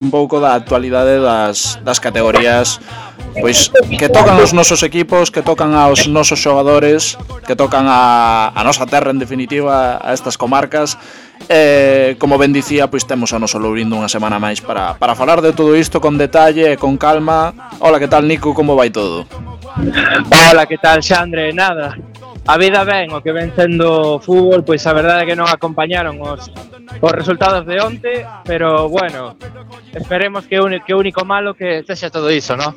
un pouco da actualidade das categorías pois que tocan os nosos equipos, que tocan aos nosos xogadores, que tocan a nosa terra en definitiva, a estas comarcas. Como ben dicía, pois temos a noso Lourindo unha semana máis para falar de todo isto con detalle e con calma. Hola, que tal, Nico? Como vai todo? Hola, que tal, Xandre? Nada, a vida ben, o que ven sendo fútbol, pois a verdade é que non acompañaron os resultados de onte, pero bueno, esperemos que o único malo que sexa todo iso, ¿no?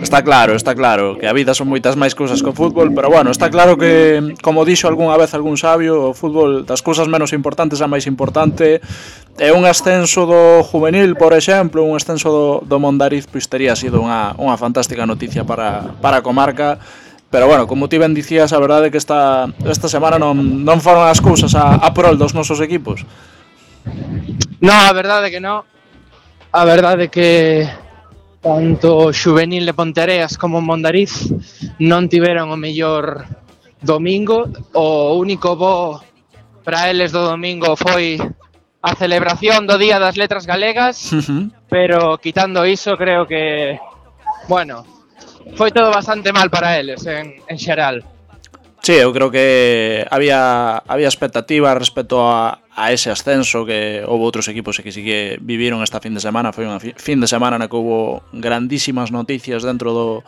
Está claro, que a vida son moitas máis cousas que o fútbol, pero bueno, está claro que, como dixo algunha vez algún sabio, o fútbol das cousas menos importantes a máis importante. E un ascenso do juvenil, por exemplo, un ascenso do Mondariz, pois tería sido unha fantástica noticia para a comarca. Pero bueno, como ti ben dicías, a verdade é que esta semana non foron as cousas a prol dos nosos equipos. No, a verdade é que non. A verdade é que tanto o xuvenil de Ponteareas como o Mondariz non tiveron o mellor domingo. O único bo para eles do domingo foi a celebración do Día das Letras Galegas, pero quitando iso creo que, bueno, foi todo bastante mal para eles en xeral. Sí, eu creo que había expectativa respecto a ese ascenso, que houve outros equipos que sí que viviron esta fin de semana. Foi unha fin de semana na que houve grandísimas noticias dentro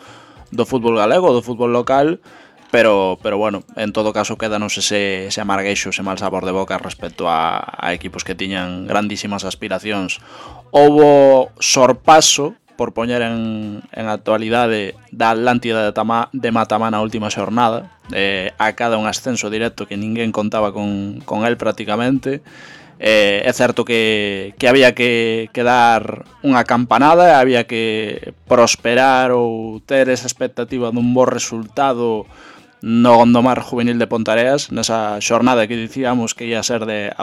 do fútbol galego, do fútbol local, pero bueno, en todo caso quédanos ese amargueixo, ese mal sabor de boca respecto a equipos que tiñan grandísimas aspiracións. Houve sorpaso, por poñer en actualidade, da Atlántida de Matamá na última xornada, a cada un ascenso directo que ninguén contaba con el prácticamente. É certo que había que dar unha campanada, había que prosperar ou ter esa expectativa dun bo resultado no Gondomar Juvenil de Ponteareas, nesa xornada que dicíamos que ia ser de